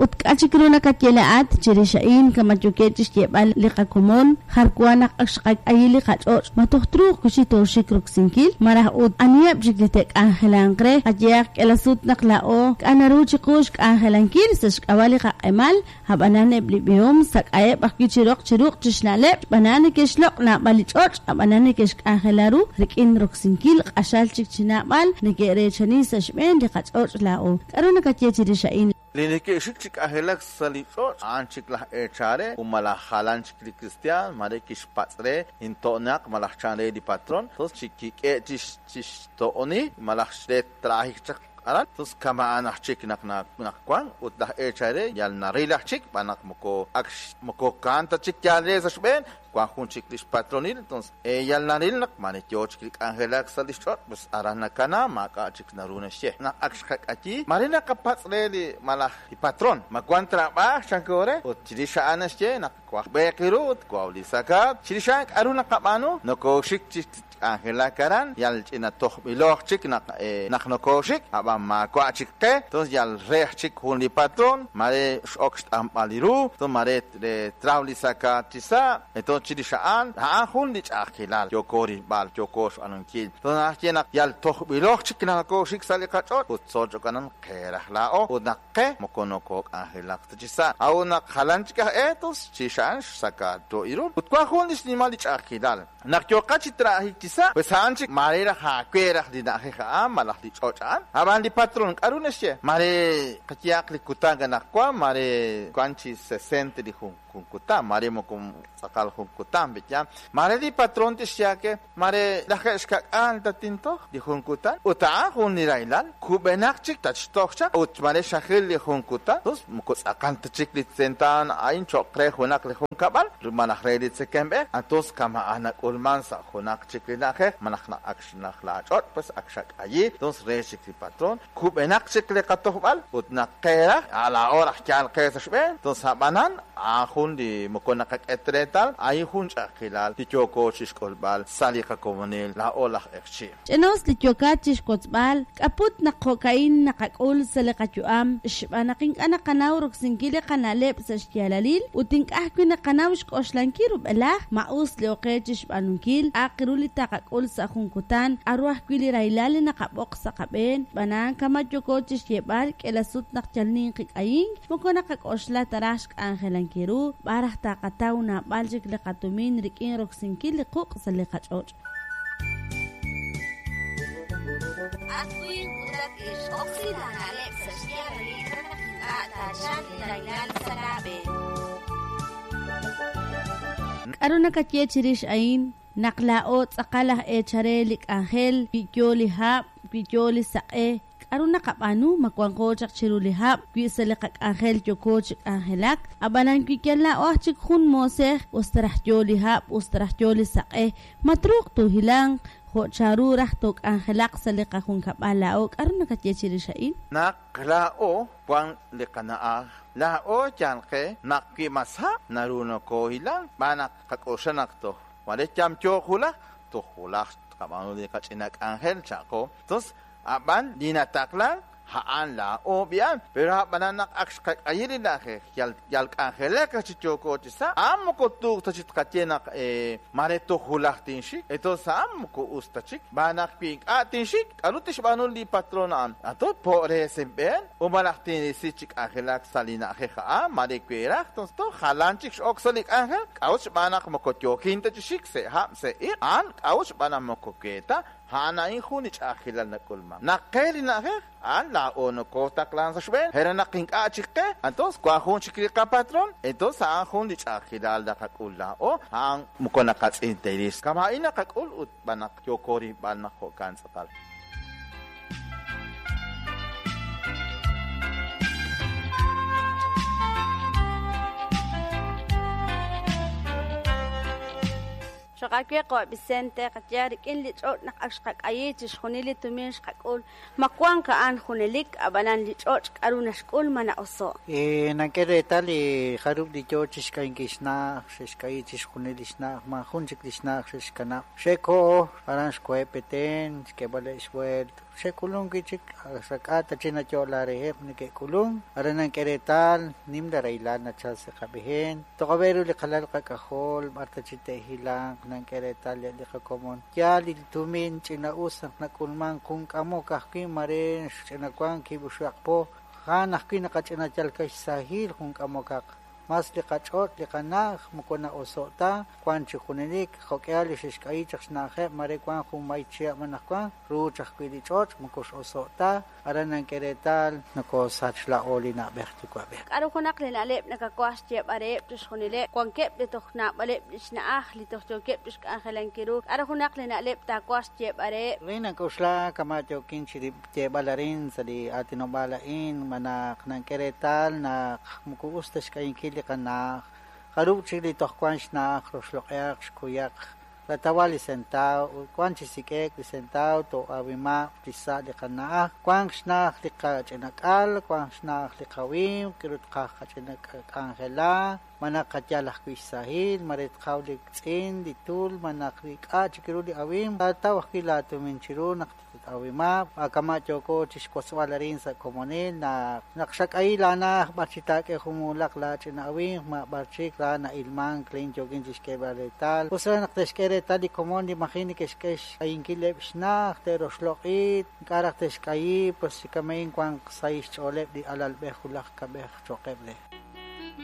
Ut k'a' chik ru nakaye laa'at chirix a'in kama yookeb' chi xyeeb'al li qakomon jar wa naq ak xqak'ayi li qach'och' ma toj truuq wi' chik tooxik roksinkil? Maraj ut aniheb' chik li te'k'anjelanq re? Qayehaq k'iila sut naq laa'o k'a' naru chiqu xk'anjelankil sa' xk'ab'a' li qaq'emal, ab'anan eb' li b'ihom sak'aheb' ajwi' chi roq chi ruq' chi xna'leb' xb'aan neke'xloq' naab'al li ch'och' ab'anan neke'xk'anjela ru rik'in roksinkil q'axal chik chi naab'al neke'reechani sa' xb'een li qach'och' laa'o. K'aru nakaye chirix a'in? Li neke'xik chi k'anjelak sa' li ch'och' a'an chik laj eechal re ut malaj jalan chik li kristiaan maare kixpatz' re into'naq malaj chan re li patron tos chi kik'e' chi xto'oni malaj re traajik chaq aran tos kama'an aj chik naq naq wan ut laj eechal re yal naril aj chik xb'aan naq moko ak moko kaan ta chik yaal re sa' xb'een wan jun chik lix patronil entonces yal naril naq mare yoo chik li k'anjelak sa' lix ch'och' pues aran nakana maak'a' chik naru naxye naq ak xqak'ayi mare naqapatz' re li malaj li patron ma wan trab'aaj chanko re ut chirix a'an naxye naq waj b'eeq ru ut waw li sakaat chirix a'an k'a'ru naqab'aanu nokooxik chi k'anjelak aran yal ch'ina tojb'iloj chik naq naq nokooxik ab'an maawa' chik qe entonces yal reej chik jun li patron mare x'ok xt'anb'al li ru entonces mare re traw li sakaat chi sa' entonces chirix a'an a'an jun li ch'a'ajkilal yooko rilb'al yooko xb'aanunkil entonces naxye naq yal tojb'iloj chik naq nokooxik sa' li qach'och' ut tzolch'okanan qe raj laa'o ut naq qe moko nokook'anjelaq ta chi sa' a'ut naq jalan chik aj eetos chirix a'an xsakaat ru ut wan jun li xnimal li ch'a'ajkilal naq yooqa chi traajik chi sa' pues a'an chik mare raj aawe raj li na'ajej a'an malaj li ch'och' a'an ab'an li patron k'a'ru naxye mare qayehaq li kutan anaqwan mare wan chi 60 li jun jun kutan mare moko tz'aqal jun kutan b'iyam mare li patron tixye aawe mare lajeeb' xka'k'aal tatintoj li jun kutan ut a'an jun li rahilal kub'enaq chik tatxtoj chaq ut mare xajil li jun kutan tos moko tz'aqal ta chik li tzentaan a'in cho'q re junaq li junkab'al malaj re li tzekemb'ej entonces kama'an nak'ulman sa' junaq chik li na'ajej malaj naq ak xnaj laach'och' pues ak xak'ayi entonces re chik li patron kub'enaq chik li qatojb'al ut naq qe raj a' laa'o raj yaal qe sa' xb'een entonces ab'anan a'an jun li moko naqak'e reetal a'in jun ch'a'ajkilal li yooko chixk'ulb'al sa' li qakomonil laa'o laj q'eqchi'. Ch'inaus li yookat chi xwotzb'al, k'aput naq jo'ka'in naqak'ul sa' li qayu'am xb'aan naq ink'a' naqanaw roksinkil li qana'leb' sa' xyaalalil ut ink'a' ajwi' naqanaw xk'oxlankil rub'elaj ma us li oqe chi xb'aanunkil, aq ru li taqak'ul sa' jun kutan, k'aru ajwi' li rahilal li naqab'oq sa' qab'een, xb'aan a'an kama' yooko chi xyeeb'al k'iila sut naq yal ninqi k'ayink, moko naqak'oxla ta raj xk'anjelankil ru, b'ar raj taqataw naab'al chik li qatumin rik'in roksinkil li quq' sa' li qach'och'. At winq ut at ixq, oksi laana'leb' sa' xyaalalil re naq ink'a' taachalq li rahilal sa' laab'een. K'aru nakaye chirix a'in? Naq laa'o tz'aqal aj eechal re li k'anjel, wi yo li hab', wi yo li saq'e, k'aru naqab'aanu? Ma wanqo chaq chiru li hab' wi sa' li qak'anjel yooko chi k'anjelak? Ab'anan wi yal laa'o aj chik jun moosej, us ta raj yo li hab', us ta raj yo li saq'e, ma truuq toohilanq jo' chanru raj took'anjelaq sa' li qajunkab'al laa'o? K'aru nakaye chirix a'in? Naq laa'o wan li qana'aj, laa'o yaal qe naq wi mas hab' naru nokoohilank xb'aan naq qak'oxla naq toj mare yamyooq wulaj, toj wulaj tqab'aanu li qach'ina k'anjel cha'qo. Tos ab'an li nataqlan a'an laa'o b'i'an, pero ab'anan naq ak xqak'ayi li na'ajej yal yal k'anjelak chi yooko chi sa', a'an moko tuuq ta chi tqaye naq mare toj wulaj tinxik, entonces a'an moko us ta chik, xb'aan naq wi ink'a' tinxik, k'aru tixb'aanu li patron a'an? Ato po' re sinb'een u malaj tinrisi chi k'anjelak sa' li na'ajej a'an, mare we raj, entonces toj jalan chik x'ok sa' li k'anjel, k'a'ut xb'aan naq moko yookin ta chi xik se' hab' se' iq', a'an k'a'ut xb'aan naq moko we ta, a'an a'in jun li ch'a'ajkilal nak'ulman. Naq qe li na'ajej, a'an laa'o nokootaqlan sa' xb'een, re naq ink'a' chik qe, entonces wan jun chik li qapatron, entonces a'an jun li ch'a'ajkilal naqak'ul laa'o, a'an moko naqatz'il ta rix. Kama'in naqak'ul ut b'an naq yooko rilb'al naq jo'kan tz'aqal. Cho'q Cho'q aawe qawa' Vicente, qayehaq rik'in li ch'och' naq ak xqak'ayi chi xjunil li tumin xqak'ul, ma wank a'an junelik, ab'anan li ch'och' k'aru naxk'ul ma na'oso'. Nank'e reetal li jarub' li yo chi xk'ayinkil xna'aj, xe'xk'ayi chi xjunil li xna'aj, maajun chik li xna'aj xe'xkanab'. Xe'koho aran xkoheb' Petén, xk'eeb'aleb' xb'ueelt, xe'k'ulunk wi' chik, sa' k'a' ta chik nayo'la reheb' neke'k'ulunk, aran nank'e reetal nimla rahilal nachal sa' qab'een, toq'ob'e ru li qalal qak'ajol, b'ar ta chik te'hilanq, nank'e reetal li qakomon. Yaal li tumin ch'ina'us naq nak'ulmank jun k'amok ajwi' mare xch'inawank kiib' oxib'aq po, a'an ajwi' naqach'ina yal xsahil jun k'amokaq. Mas li qach'och' li qana'aj moko na'oso' ta, wank chi junelik, jo'k'ihal li xe'xk'ayi chaq xna'ajeb' mare wank jun may chihab' anaqwan, ruuch ajwi' li ch'och' moko x'oso' ta, aran nank'e reetal nokosach laa'o li na'b'ej yuwa'b'ej. K'aru junaq li na'leb' nakawaj xyeeb'al reheb' chi xjunileb' wankeb' li toj naab'aleb' li xna'aj li toj yookeb' chi xk'anjelankil ru, k'aru junaq li na'leb' taawaj xyeeb'al reheb'. Rin nak'oxla kama' yookin chi yeeb'al arin sa' li aatinob'aal a'in, ma naq nank'e reetal naq moko us ta xk'ayinkil li qana'aj, jarub' chik li toj wank xna'aj roxloq'ihaq xkuyaq, ratawal li sentaw, wank chi sik'ek li sentaw to'awimaq li xsa' li qana'aj, wank xna'aj li qach'inak'al, wank xna'aj li qawimq, k'aru tqaj qach'ina k'anjela, ma naq qayal ajwi' xsahil, mare tqaw li tz'in, li tul, ma naq li k'a' chik ru li awimq, taataw ajwi' laatumin chiru naq awimab', kama' yooko chi xwotzb'al arin sa' komonil, naq naq xak'ayi laana'aj b'ar chi taak'e jumulaq laach'ina awimq, ma b'ar chik ra na'ilmank lin yookin chi xk'eeb'al reetal. Us re naq te'xk'e reetal li komon li maji neke'xk'e xk'ayinkileb' xna'aj, te'roxloq'i, ink'a' raj te'xk'ayi, pues chi kama'in wanq sahil xch'ooleb' li alalb'ej wulaj kab'ej cho'qeb' re.